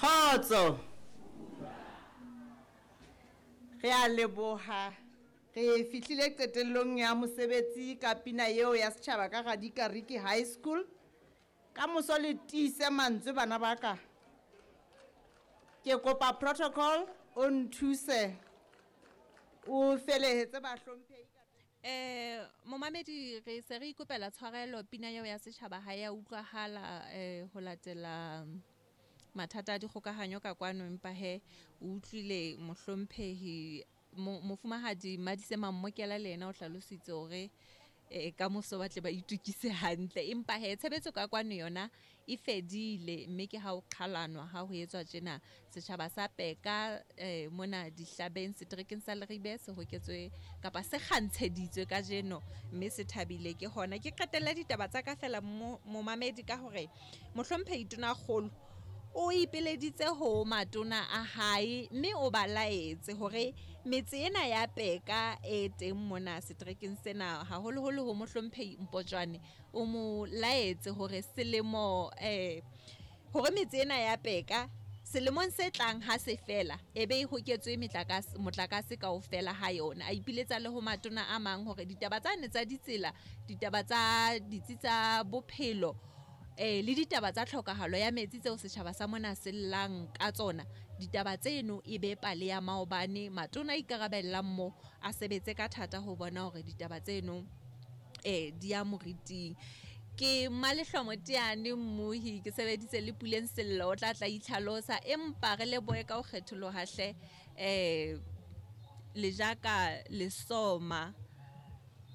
Kgotso. Re a leboha. Re fihlile qetellong ya mosebetsi ka pina eo ya setjhaba ka Radikariki High School. Ka moso le tiise mantswe bana ba ka. Ke kopa protocol o nthuse o felehetse bahlomphehi ka Eh momamedi re se re ikopela tshwarelo pina eo ya setjhaba ha ya utlwahala eh ho latela mathata a dikgokahanyo ka kwano empa he o utlwile mohlomphehi mofumahadi Madise Mammokela le yena o hlalositse hore eh, ka moso ba tle ba itukise hantle empa he tshebetso ka kwano yona e fedile mme ke ha o qhalanwa ha ho etswa tjena setjhaba sa Peka eh, mona dihlabeng seterekeng sa Leribe se hoketswe kapa se kgantsheditswe kajeno mme se thabile ke hona ke qetelle ditaba tsa ka fela momamedi ka hore Mohlomphehi Tonakgolo o ipeleditse ho matona a hae mme o ba laetse hore metse ena ya Peka e teng mona seterekeng sena haholoholo ho Mohlomphehi Mpotjwane o mo laetse hore selemo eh hore metse ena ya Peka selemong se tlang ha se fela e be e hoketswe metlakase motlakase kaofela ha yona. A ipiletsa le ho matona a mang hore ditaba tsane tsa ditsela, ditaba tsa ditsi tsa bophelo eh le ditaba tsa tlhokahalo ya metsi tseo setjhaba sa mona se llang ka tsona, ditaba tseno e be pale ya maobane. Matona a ikarabellang mo a sebetse ka thata ho bona hore ditaba tseno eh di ya moriting. Ke Mmalehlomo Teane Mmuhi, ke sebeditse le Puleng Sello o tla tla itlhalosa empa re lebohe ka ho kgetholoha hle eh Lejaka Lesoma.